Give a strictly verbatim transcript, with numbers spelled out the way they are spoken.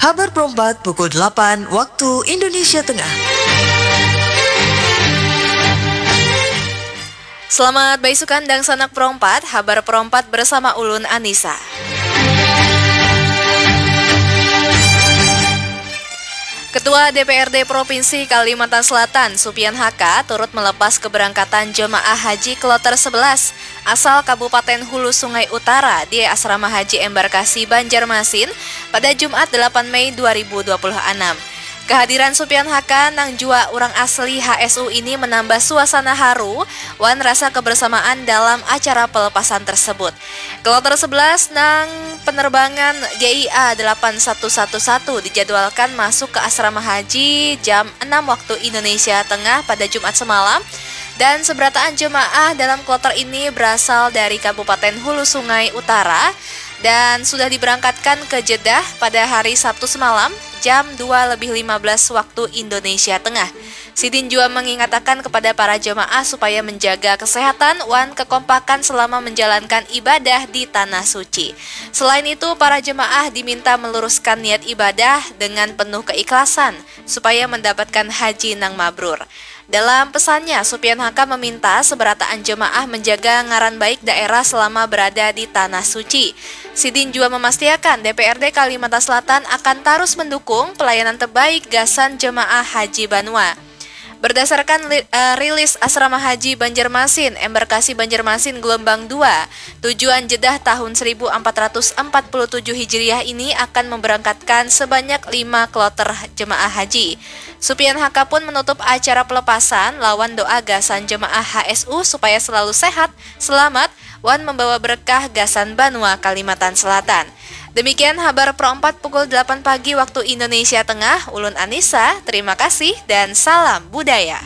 Habar perempat pukul delapan waktu Indonesia Tengah. Selamat baisukan dangsanak perompat, habar perompat bersama ulun Anissa. Ketua D P R D Provinsi Kalimantan Selatan, Supian Haka, turut melepas keberangkatan jemaah haji kloter sebelas asal Kabupaten Hulu Sungai Utara di Asrama Haji Embarkasi Banjarmasin pada Jumat delapan Mei dua ribu dua puluh enam. Kehadiran Supian Haka nang jua urang asli H S U ini menambah suasana haru wan rasa kebersamaan dalam acara pelepasan tersebut. Kloter sebelas nang penerbangan G I A delapan satu satu satu dijadwalkan masuk ke Asrama Haji jam enam waktu Indonesia Tengah pada Jumat semalam, dan seberataan jemaah dalam kloter ini berasal dari Kabupaten Hulu Sungai Utara dan sudah diberangkatkan ke Jeddah pada hari Sabtu semalam jam dua lebih lima belas waktu Indonesia Tengah. Sidin jua mengingatakan kepada para jemaah supaya menjaga kesehatan wan kekompakan selama menjalankan ibadah di Tanah Suci. Selain itu, para jemaah diminta meluruskan niat ibadah dengan penuh keikhlasan supaya mendapatkan haji nang mabrur. Dalam pesannya, Supian Haka meminta seberataan jemaah menjaga ngaran baik daerah selama berada di Tanah Suci. Sidin jua memastiakan D P R D Kalimantan Selatan akan tarus mendukung pelayanan terbaik gasan jemaah haji banua. Berdasarkan li- eh, rilis Asrama Haji Banjarmasin, embarkasi Banjarmasin gelombang dua, tujuan Jeddah tahun seribu empat ratus empat puluh tujuh Hijriah ini akan memberangkatkan sebanyak lima kloter jemaah haji. Supian Haka pun menutup acara pelepasan lawan doa gasan jemaah H S U supaya selalu sehat, selamat, wan membawa berkah gasan banua Kalimantan Selatan. Demikian habar Pro empat pukul delapan pagi waktu Indonesia Tengah. Ulun Anissa, terima kasih dan salam budaya.